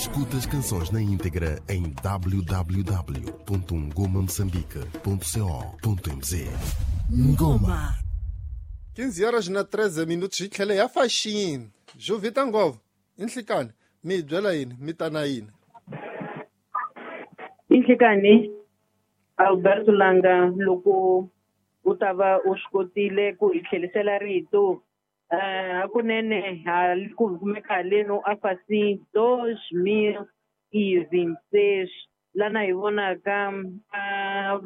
Escuta as canções na íntegra em www.ngomamoçambique.co.mz. Ngoma. 15 horas na 13 minutos hi tlhele ya faxini. Jovita Ngova, i nhlikani mi hi byela yini mi ta na yini? I nhlikani Alberto Langa, loko u ta va u swi kotile ku hi tlhelisela rito, hakunene ku kumeka haleno a fasi 2026 lana hi vonaka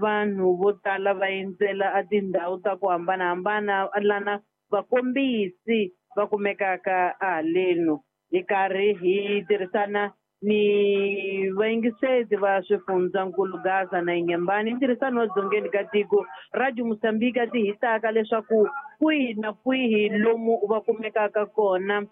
vanhu vo tala va endzela a tindhawu ta ku hambanahambana lana vakombisi va kumekaka haleno. Hi karhi hi tirhisana ni vayingiseti va swifundzankulu Gaza na Inhambane, ntirhisano wa dzongeni ka tiko Radio Mozambique ti hitaka leswaku kwihi na kwihi lomu va kumekaka kona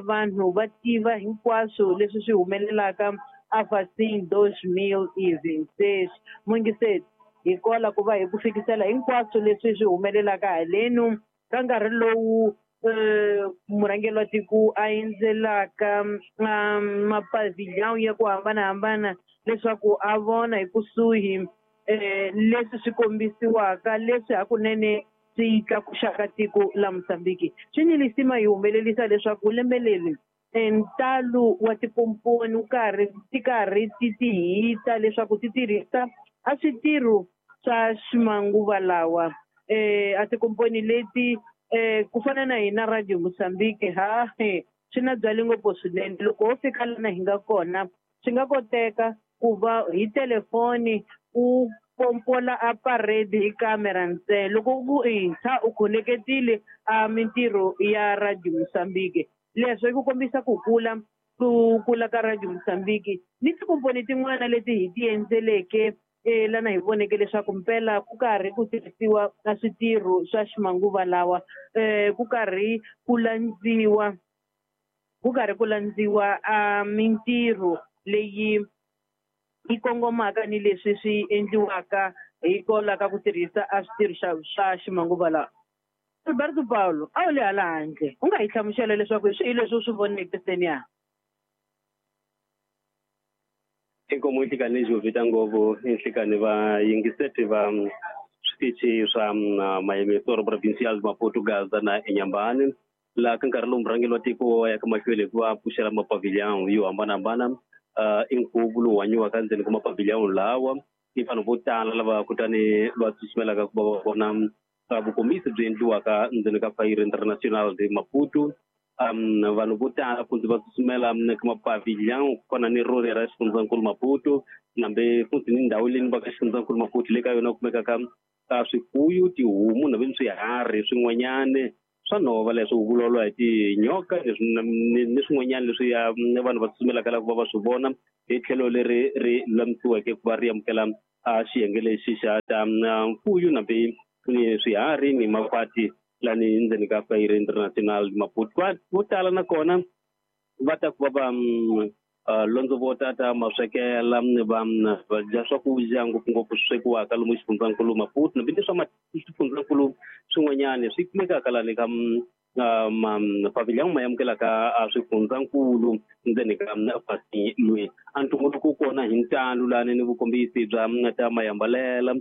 vanhu va tiva hinkwaswo leswi swi humelelaka a 2026. Muyingiseti, hi kola ku va hi ku fikisela hinkwaswo leswi swi humelelaka halenu ka nkarhi lowu murhangeri wa tiko a endzelaka mapavillon ya ku hambanahambana leswaku a vona hi kusuhi leswi swi kombisiwaka leswi hakunene swi tlakuxaka tiko la Mozambique. Swi ni lisima hi humelerisa leswaku lembe leri ntalo wa tikomponi wu karhi ti karhi ti ti hita leswaku ti tirhisa a switirho swa ximanguva lawa. A tikomponi leti ku fana na hina Radio Mozambique ha swi na byali ngopfu swinene. Loko ho fika lana hi nga kona swi nga koteka ku va hi telefoni u pompola a parade hi kamera ntsena, loko ku intshwa u khoneketile a mintirho ya Radio Mozambique. Leswo i ku kombisa ku kula ku kula ka Radio Mozambique ni tikomponi tin'wana leti hi ti endzeleke lana hi voneke leswaku mpela ku karhi ku tirhisiwa na switirho swa ximanguva lawa, ku karhi ku landziwa a mintirho leyi yi kongomaka ni leswi swi endliwaka hi kwalaho ka ku tirhisa a switirho swa ximanguva lawa. Alberto Paulo, a wu le hala handle, u nga hi hlamusela leswaku hi swihi leswi u swi voneke seniya? Inkomo nhlikani Jovita Ngopfu, nhlikani va yingiseti va switichi swa Mayemesoro Provincial Maputo Gaza na Inhambane, laha ka nkarhi lowu murhangeri wa tiko ya ka mahlweni hi ku va pfuxela mapavillon yo hambanahambana. I nkhuvo lowu hanyiwaka ndzeni ka mapavillon lawa i vanhu vo tala lava kutani va tsutsumelaka ku va va vona vukombisi byi endliwaka ndzeni ka Feira Internacional de Maputo. Vanhu vo tala futhi va tsutsumela ka mapavillon ku fana ni rori ra xifundzankulu Maputo, nambe futhi ni ndhawu leyi va ka xifundzankulu Maputo le ka yona kumekaka ka swifuyo, tihomu nambe ni swiharhi swin'wanyana swa nhova leswi vulavuriwa hi tinyoka leswi ni swin'wanyana leswi vanhu va tsutsumelaka la ku va va swi vona hi tlhelo leri ri lulamisiweke ku va ri amukela xiyenge lexi xa ta mfuyo nambe ni swiharhi ni makhwati lani ndzeni ka Feira Internacional Maputo. Vo tala nakona va ta ku va va londzovota ta maswekela va dya swakudya ngopfungopfu swi swekiwaka lomu xifundzankulu Maputo nambe ni swa swifundzankulu swin'wanyana swi kumekaka lani ka mapavillon ma amukelaka swifundzankulu ndzeni ka fasi loyi. A ntumbuluko kona hi ntalo lani ni vukombisi bya ta mayambalela,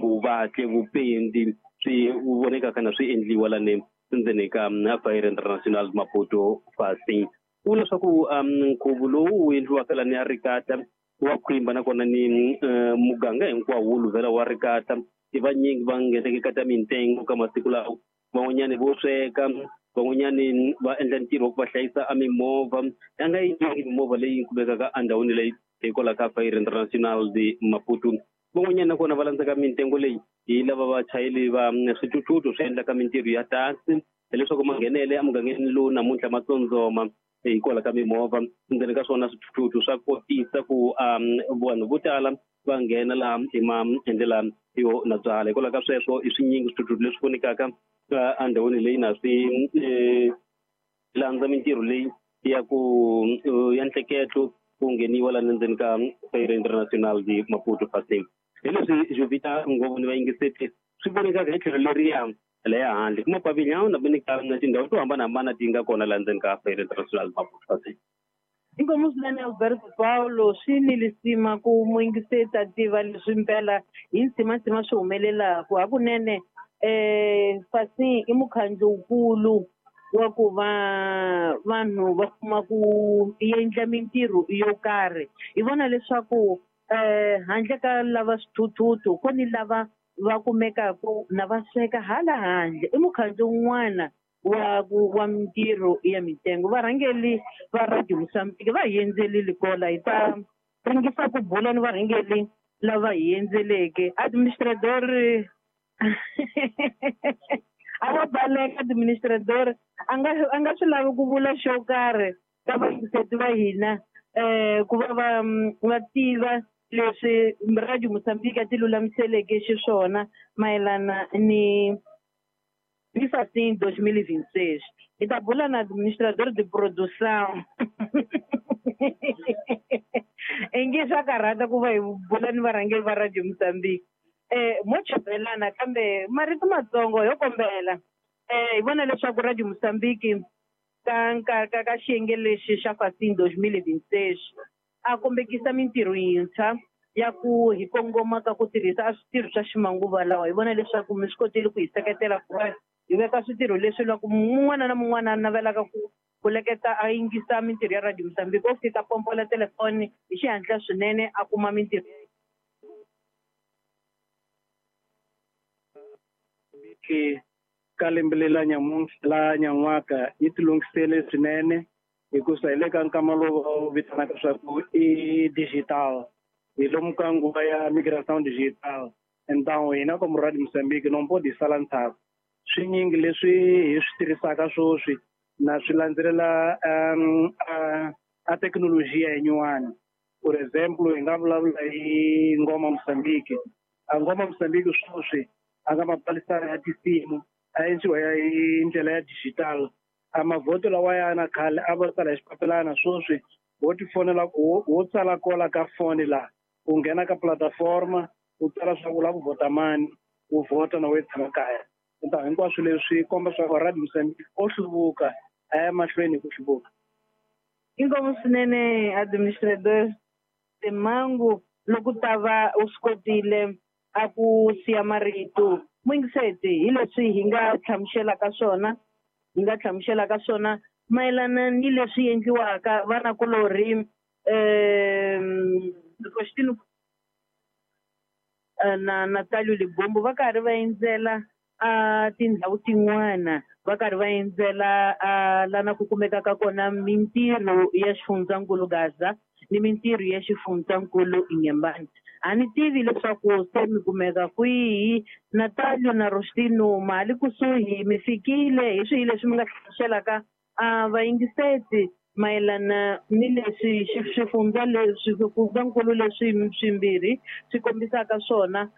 vuvatli, vupendi swi vonekaka na swi endliwa lani ndzeni ka Feira Internacional Maputo fasi. Ku leswaku nkhuvo lowu wu endliwaka lani ya Ricata wa khwimba nakona ni muganga hinkwawo wu luvela wa Ricata, i vanyingi va ngheneke ka ta mintengo ka masiku lawa, van'wanyani vo sweka, van'wanyani va endla ntirho wa ku va hlayisa a mimovha ya nga yinyingi mimovha leyi kumekaka endhawini leyi hikwalaho ka Feira Internacional de Maputo. Van'wanyana nakona va landzaka mintengo leyi hi lava vachayeri va swithuthuthu swi endlaka mintirho ya taxi, hileswaku manghenele emugangeni lowu namuntlha ma tsondzoma hikwalaho ka mimovha. Ndzeni ka swona swithuthuthu swa kotisa ku vanhu vo tala va nghena laha hi maendlela yo na byala. Hikwalaho ka sweswo i swinyingi swithuthuthu leswi vonekaka endhawini leyi na swi landza mintirho leyi ya ku ya ntleketlo ku ngheniwa laha ndzeni ka Feira Internacional de Maputo fasi. Hi leswi Jovita Ngopfu ni vayingiseti swi vonekaka hi tlhelo leriya leya handle ku mapavillon na ni ka tindhawu to hambanahambana ti nga kona laha ndzeni ka Feira Internacional Maputo fasi. Inkomu swinene Alberto Paulo, swi ni lisima ku muyingiseti a tiva leswi mpela hi ntsimantsima swi humelelaku hakunene. Fasi i mukhandlu wukulu wa ku va vanhu va kuma ku endla mintirho yo karhi. Hi vona leswaku handle ka lava swithuthuthu ku ni lava va kumekaku na va sweka hala handle. I mukhandlu wun'wana wa mintirho ya mitengo. Varhangeri va Radio Mozambique va hi endzelile kola, hi ta ringisa ku bula ni varhangeri lava hi endzeleke. Administrador a va baleka administrador a nga swi lavi ku vula xo karhi ka vayingiseti va hina, ku va va tiva leswi Radio Mozambique a ti lulamiseleke xiswona mayelana ni Fasin 2026. Hi ta bula na administrador de produção. Inge swa karhata ku va hi bula ni varhangeri va Radio Mozambique. Mo chumelana kambe marito matsongo yo kombela. Hi vona leswaku Radio Mozambique ka xiyenge lexi xa Fasin 2026 a kombekisa mintirho yintshwa ya ku hi kongoma ka ku tirhisa a switirho swa ximanguva lawa. Hi vona leswaku mi swi kotile ku hi seketela ku va hi veka switirho leswi loko mun'wana na mun'wana a navelaka ku leketa a yingisa mintirho ya Radio Mozambique, o fika pompola telefoni hi xihatla swinene a kuma mintirho. Ka lembe leri la nyan'waka yi tilunghisele swinene hikusa hi le ka nkama lowu va wu vitanaka swa ku i digital, hi lomu ka nguva ya migration digital. Então hina como Radio Mozambique não pode sala ndzhaku. Swinyingi leswi hi swi tirhisaka swoswi na swi landzelela a thekinolojiya yinyuwani. For example, hi nga vulavula hi Ngoma Mozambique. A Ngoma Mozambique swoswi a nga mapalisana ya tinsimu a endliwa hi ndlela ya digital. A mavhoto lawa ya na khale a va tsala hi xipapilana, swoswi wo tifonela, wo tsala kola ka foni laha u nghena ka plataforma u tsala swa ku u lava ku vhota mani, u vhota na we tshama kaya. Então hinkwaswo leswi komba swa ku Radio Mozambique o hluvuka a ya mahlweni hi ku hluvuka. Inkomu swinene administrador Simangu, loko ta va u swi kotile a ku siya marito. Muyingiseti hi leswi hi nga hlamuselaka swona, hi nga hlamuselaka swona mayelana ni leswi endliwaka vanakulorhi Faustino na Natalio Libombo va karhi va endzela a tindhawu tin'wana, va karhi va endzela lana ku kumekaka kona mintirho ya xifundzankulu Gaza ni mintirho ya xifundzankulu Inhambane. A ni tivi leswaku se mi kumeka kwihi. Natalio na Rostino ma li kusuhi, mi fikile? Hi swihi leswi mi nga hlamuselaka vayingiseti mayelana ni leswi xifundza leswi swifundzankulu leswi swimbirhi swi kombisaka swona